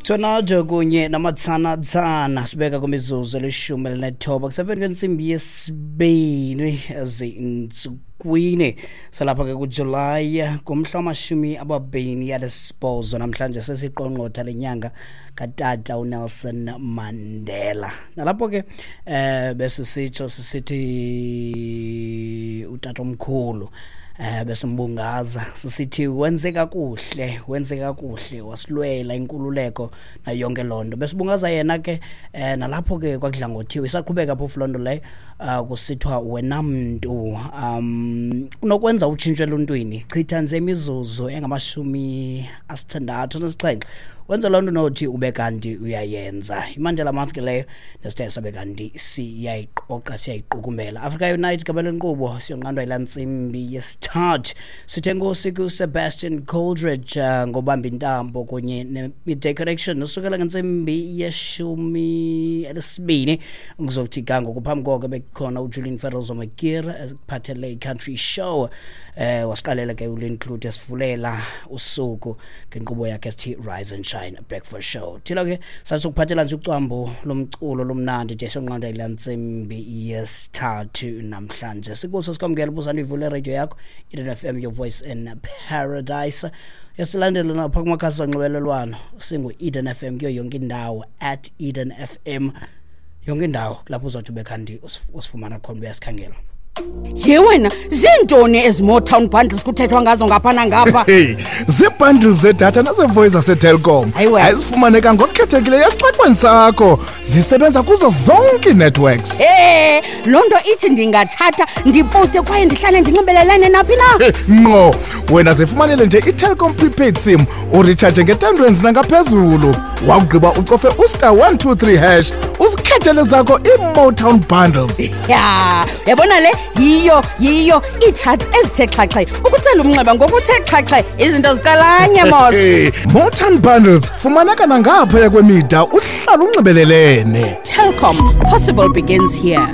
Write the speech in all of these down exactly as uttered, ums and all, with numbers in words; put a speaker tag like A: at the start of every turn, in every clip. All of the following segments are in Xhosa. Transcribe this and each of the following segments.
A: Tornado kunye namatsana-tsana sibeka kwimizuzu elishumi elinethoba kuseveni kwentsimbi yesibini ezintsukwini salapha ke kuJulayi ngumhla wamashumi ababini anesibhozo. Namhlanje sesiqongqotha lenyanga katata uNelson Mandela. Nalapho ke eh besisitsho sisithi utata omkhulu eh besimbungaza sisithi wenze kakuhle wenze kakuhle wasilwela inkululeko na yonke lonto. Besibungaza yena ke eh nalapho ke kwakudla ngothiwe isaqhubeka phofu lonto leyo uh, kusithwa wena mntu um unokwenza utshintsho eluntwini, chitha nje imizuzu engamashumi asithandathu nesixhenxe wenza lonto nothi ube kanti uyayenza. IMandela Month ke leyo nesithe sabe kanti siyayiqoqa siyayiqukumbela. Africa Unite gabele nkqubo siyonqandwa yilaa ntsimbi yesithathu. Sithe enkosi kuSebastian Coldridge uh, ngobamba intambo kunye ne-Midday Connection usukela ngentsimbi yeshumi elesibini kuzokuthi ga ngoku. Phambi koko bekukhona uJulian Ferrell Makir ekuphathele i-Country Show. Eh wasiqalela ke uLynn Cloete esivulela usuku ngenkqubo yakhe esithi Rise and Shine Breakfast Show. Thina ke sasukuphathela nje ucwambo lomculo lomnandi nje sonqanda ila ntsimbi yesithathu namhlanje. Sikuso sikwamukela ubuzana ivule radio yakho Eden F M, your voice in paradise. Yasilandela napha kumakhasi onxibelelwano singu Eden F M kuyo yonke indawo, at Eden F M yonke indawo lapho uzothi ube kanti usifumana khona uyasikhangela.
B: Ye wena, zintoni ezi Motown bundles kuthethwa ngazo ngapha nangapha?
C: Hey, zii-bundles zedatha nazevoice zaseTelkom azifumaneka ngokukhethekileyo esixekweni sakho. Zisebenza kuzo zonke ii-networks.
B: Hey, loo nto ithi ndingatshata ndiposte kwaye ndihlale ndinxibelelene naphi na?
C: Ngqo, wena zifumanele nje iTelkom prepaid SIM uritshaje nge-ten rands nangaphezulu. Wakugqiba ucofe ustar one two three hash uzikhethele zakho ii-Motown bundles.
B: Ya, uyabona le yiyo yiyo ii-charts ezithe xhaxhe ukutsela umnxeba ngokuthe xhaxhe izinto ziqalanye mos.
C: Motown bundles fumaneka nangaphaya kwemida uhlala unxibelelene.
B: Telkom, possible begins here.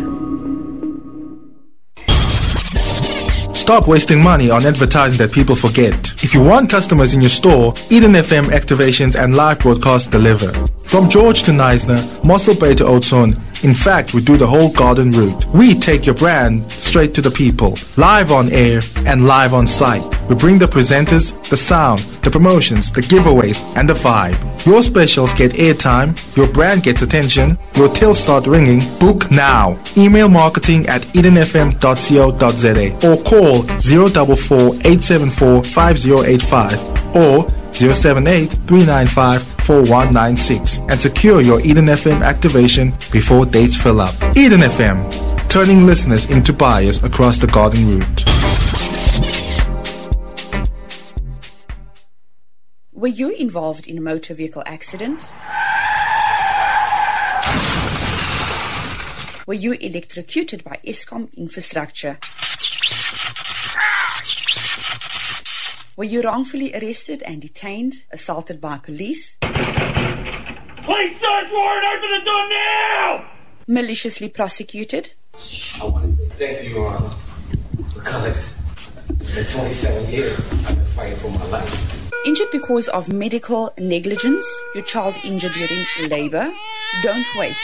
D: Stop wasting money on advertising that people forget. If you want customers in your store, Eden F M activations and live broadcasts deliver. From George to Neisner, Mossel Bay to Oudtshoorn, in fact, we do the whole garden route. We take your brand straight to the people, live on air and live on site. We bring the presenters, the sound, the promotions, the giveaways, and the vibe. Your specials get airtime, your brand gets attention, your tills start ringing. Book now. Email marketing at eden f m dot co dot z a or call zero four four, eight seven four, five zero eight five or zero seven eight, three nine five, four one nine six and secure your Eden F M activation before dates fill up. Eden F M, turning listeners into buyers across the garden route.
E: Were you involved in a motor vehicle accident? Were you electrocuted by Eskom infrastructure? Were you wrongfully arrested and detained, assaulted by police?
F: Police search warrant, open the door now!
E: Maliciously prosecuted?
G: I want to say thank you, Your Honor, because in twenty-seven years, I've been fighting for my life.
E: Injured because of medical negligence? Your child injured during labor? Don't wait.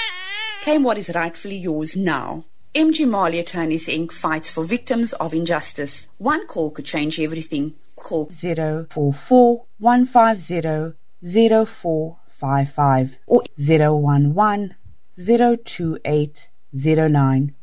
E: Claim what is rightfully yours now. M G Marley Attorneys Incorporated fights for victims of injustice. One call could change everything. Call
H: zero four four, one five zero, zero four five five or zero one one, zero two eight, zero nine.